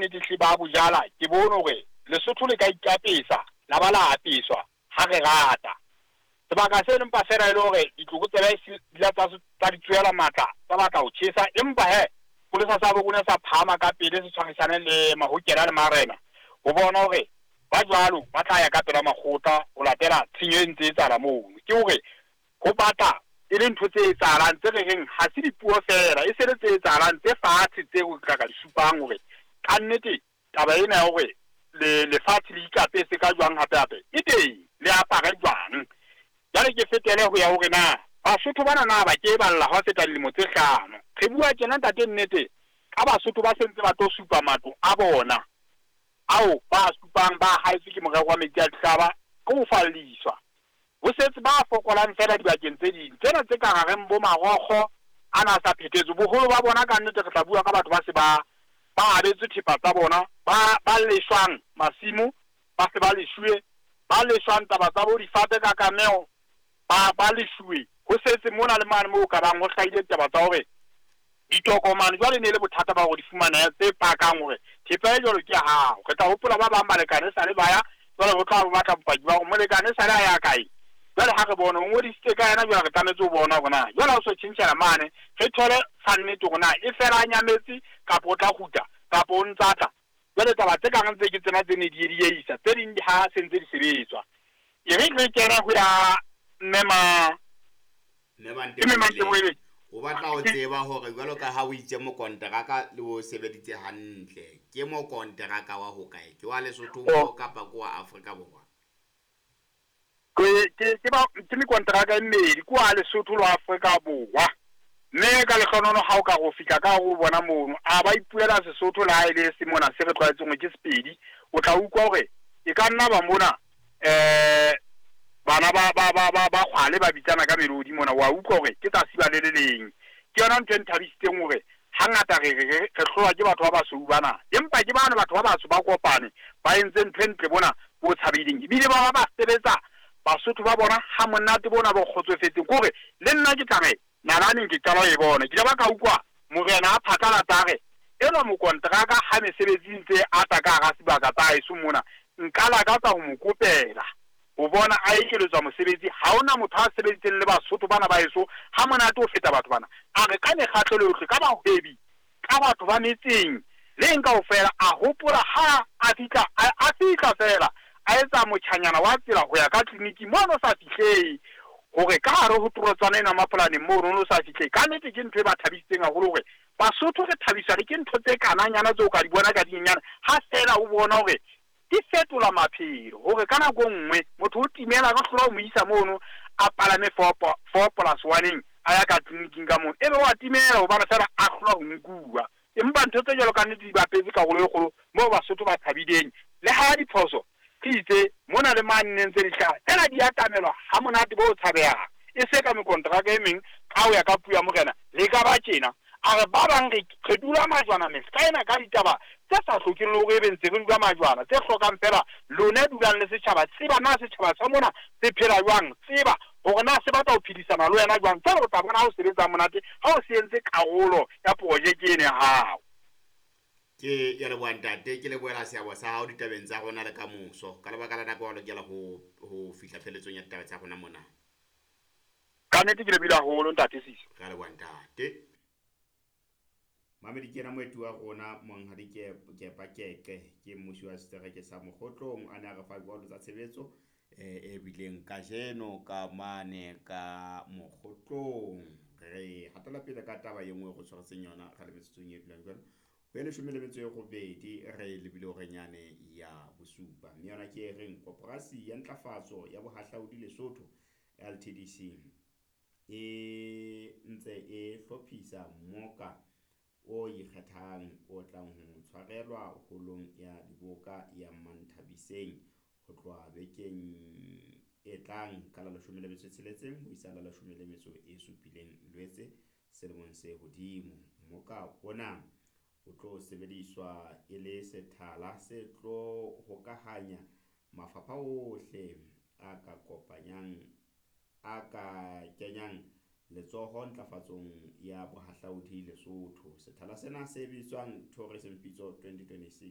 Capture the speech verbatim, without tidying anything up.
nnete hle ba bo jala, ke bone hore Lesotho le ka ikapesa la ba la apeswa ha re rata. Sebaka seno empa feela e le hore ditlokotsebe di la tsa tsa di tsohela matla, tsa batla ho tjhesa, empa he sepolesa sa bo rona sa phahama ka pele, se tshwarisane le mahokela le marena ho bona hore ba jwalo ba tla ya ka pela makgotla ho latela tshenyo e ntse e etsahala mono. Ke hore ho batla e le ntho tse etsahalang tse re reng ha se dipuo feela, e se le tse etsahalang tse fatshe tseo tla ka di supang hore kannete taba ena ya hore le lefatshe le ikapese ka jwang hape hape e teng, le apare jwang. Jwale ke fetele ho ya hore na Basotho bana na ba ke balla ha feta dilemo tse hlano. Re bua tjena ntate nnete ka Basotho ba sentse ba tlo supa matlo a bona ao ba supang ba haetswe ke morero wa metsi a dihlaba ke ho falliswa. Ho setse ba fokolang feela dibakeng tse ding tsena tse ka hareng bo marokgo ana a sa phethetswe. Boholo ba bona ka nnete re tla bua ka batho ba se ba ba abetswe thepa tsa bona, ba ba leshwang masimo, ba se ba leshuwe, ba leshwang taba tsa bo difate ka kameo, ba ba leshuwe. Ho setse mona le mane moo ka bang ho hlahile taba tsa hore ditokomane jwale ne le bothata ba hore di fumanehe tse pakang hore thepa e jwalo ke ya hao. Re tla hopola ba bang balekane sale ba ya jwale ho tla batla bopaki ba hore molekane sale a ya kae. Jwale ha re bone o ngodisitse ka yena, jwale re tlametse ho bona hore na jwale ha o so tjhentjhela mane re thole sa nnete hore na e fela a nyametse kapa o tla kgutla kapa o ntsa tla. Jwale taba tse kang tse ke tsena tse ne di dieisa, tse ding di ha se ntse di sebetswa. E re re kene ho ya mme ma Mme o batla ho tseba hore jwalo ka ha o itse mokonteraka le o sebeditse hantle, ke mokonteraka wa hokae? Ke wa Lesotho mo kapa ke wa Afrika Borwa? Ke ke ke ba ke mekonteraka e mmedi, ke wa Lesotho le wa Afrika Borwa. Mme ka lehlohonololo ha o ka ho fihla ka ho bona mono, a ba ipuela Sesotho le ha e le se mona se re tlwaetseng hore ke Sepedi, o tla utlwa hore e ka nna ba mona eh bana ba ba ba ba ba kgwale ba bitsana ka melodi mona, wa utlwa hore ke tsatsi ba le le leng. Ke yona ntho e nthabisitseng hore hangata re re re hlolwa ke batho ba basweu bana, empa ke bana batho ba batsho ba kopane ba entse ntho e ntle bona bo tshabileng, ebile ba ba ba sebetsa Basotho ba bona ha monate bona bo kgotsofetseng. Ke hore le nna ke tla re nalaneng ke qala ho e bona, ke ile ba ka utlwa morena a phatlalatsa a re enwa mokonteraka ha mesebetsi ntse ata ka hara sebaka tsa haeso mona, nka lakatsa ho mo kopela ho bona a ekeletswa mosebetsi. Ha hona motho a sebeditseng le Basotho bana ba heso ha monate ho feta batho bana. A re ka mekgatlo yohle, ka bahwebi, ka batho ba metseng le eng kaofela, a hopola ha a fihla, a fihla feela a etsa motjhanyana wa tsela ho ya ka tleliniking mono sa fihlehe, hore ka hare ho torotswana ena Mapolaneng mono no sa fihlehe. Ka nnete ke ntho e ba thabisitseng haholo hore Basotho re thabiswa le ke ntho tse kananyana tseo ka di bona ka dinyenyana, ha feela o bona hore di fetola maphelo, hore ka nako e nngwe motho o timela ka hlola o mo isa mono a palame four four plus one a ya ka tleliniking ka mono, ebe wa timela hobane feela a hlola ho nkuwa. Empa ntho tse jwalo ka nnete di bapetse karolo e kgolo moo Basotho ba thabileng. Le ha diphoso ke itse mona le mane ne ntse di hlaha, tsena di atamelwa ha monate bo tshabehang, e se ka mekonteraka e meng ka ho ya ka puo ya morena le ka ba tjena. A re ba bang re re dula majwana mehla ena ka ditaba tse sa hlokeng le hore ebe ntse re dula majwana, tse hlokang feela lona dulang le setjhaba, tseba na setjhaba sa mona se phela jwang, tseba hore na se batla ho phedisana le wena jwang. Jwale o tla bona ha o sebetsa monate ha o se entse karolo ya projeke ena ya hao. Ke ya leboha ntate, ke lebohela seabo sa hao ditabeng tsa rona le kamoso. Ka lebaka la nako wa lokela ho ho fihla pheletsong ya ditaba tsa rona mona. Ka nnete ke lebohile haholo ntate Sisi. Re a leboha ntate. Mamedi ke yena moeti wa rona Monghadi Kepa Keqe, ke mmusi wa setereke sa Mokgotlong, a ne a re fa dikwalo tsa tshebetso e bileng kajeno ka mane ka Mokgotlong. Re hatela pele ka taba e nngwe re tshwaretseng yona re le metsotsong e dulang jwalo ho ya leshome le metso e robedi, re lebile horenyane ya bosupa, mme yona ke e reng Koporasi ya Ntlafatso ya Bohahlaudi Lesotho L T D C e ntse e hlophisa mmoka o ikgethang o tlang ho tshwarelwa holong ya diboka ya Manthabiseng ho tloha bekeng e tlang ka la leshome le metso e tsheletseng ho isa la leshome le metso e supileng Lwetse selemong se hodimo. Mmoka ona o tlo sebediswa e le sethala se tlo hokahanya mafapha ohle a ka kopanyang a ka kenyang letsoho ntlafatsong ya bohahlaudi Lesotho. Sethala sena se bitswang Tourism Pitso twenty twenty-six.